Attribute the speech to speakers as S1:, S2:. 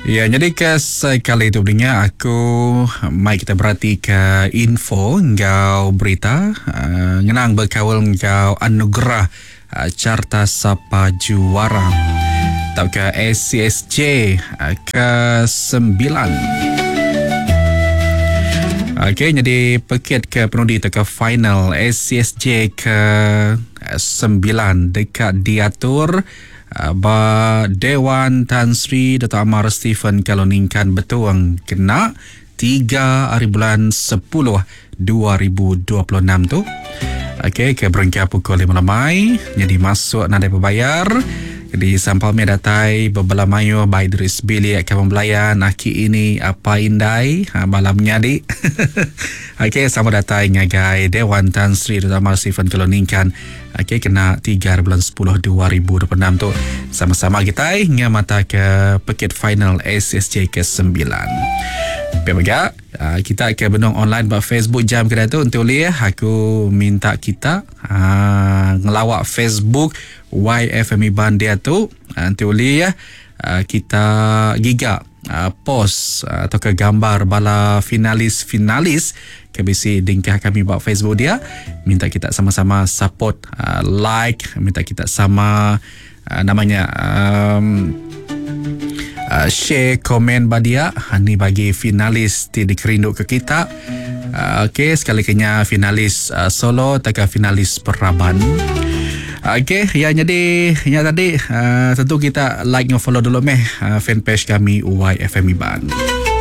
S1: Ya, jadi ke sekali tu dinga aku mai kita berati ke info enggau berita uh, ngenang bekaul enggau anugerah uh, Carta Sapa Juara tauka ACSJ uh, ke sembilan. Okey, jadi pekit ke penudi tauka final ACSJ ke sembilan deka diatur Ba Dewan Tan Sri Datuk Amar Stephen Kalong Ningkan Betong kena 3 hari bulan 10 2026 tu. Okey, ke berengkah pukul 5 lemai, jadi masuk nadai bebayar. Jadi sampal meh datai bebela mayuh baik diri sebilik kaban belayan aki ini apa indai ha, bala menyadi. Okey, sama datai ngagai Dewan Tan Sri Datuk Amar Stephen Kalong Ningkan Okey kena 3 hari bulan 10 2026 tu sama-sama kitai ngemata ke pekit final SSJ ke 9. Pia mega ah, kita ke benung online ba Facebook jam kedai tu enti ulih aku minta kita ah, ngelawak Facebook YFM Iban dia tu ah, enti ulih kita giga post tauka gambar bala finalis-finalis ke bisi dingkah kami ba Facebook dia minta kita sama-sama support like minta kita sama nama nya um, share komen ba dia ni bagi finalis ti dikerindu ke kita okey sekali ke nya finalis solo tauka finalis peraban. Okey, ya nyadi nya tadi uh, tentu kita like ngau follow dulu meh uh, fanpage kami YFM Iban.